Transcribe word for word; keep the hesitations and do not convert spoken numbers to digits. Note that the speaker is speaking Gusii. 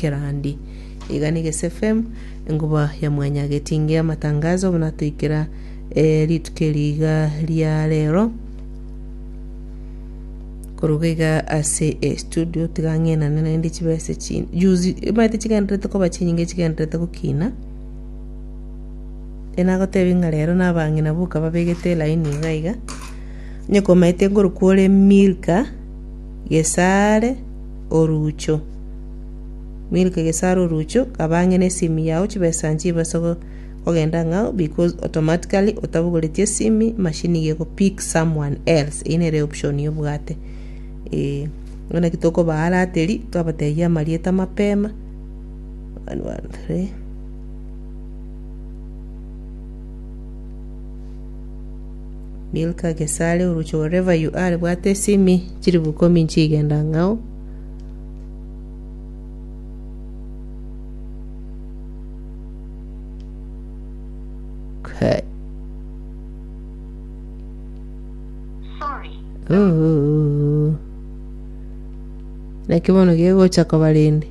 Kerandi. Iga na Egese F M, enguba ya mwanyagetinge. Amatangazo buna toikera eh, rituko eri iga ria rero koruga iga ase estudio, tiga ng'enane naende chibese chi juzi omanyete chigenderete koba chinyinge, chigenderete gokina. Enagotebi ng'a rero na abang'ina boka babegete elaini iga iga. Onye komaete nkorokwa ore Milka Gesare Orucho, Milka Gesare Orucho, kaba ang'e na esimi yao, chibesa nchibase go- kogenda ng'ao, because automatically otabogoretie esimi, machine iga egopick someone else. Eyio nere option obwate. Eh, naki tokobaharateri twabatebia amarieta mapema. One, one, three. Milka Gesare Orucho, wherever you are, bwate esimi, chiribu ikomi nchigenda ng'ao. Okay. Oh. Naki bono gegocha koba rende.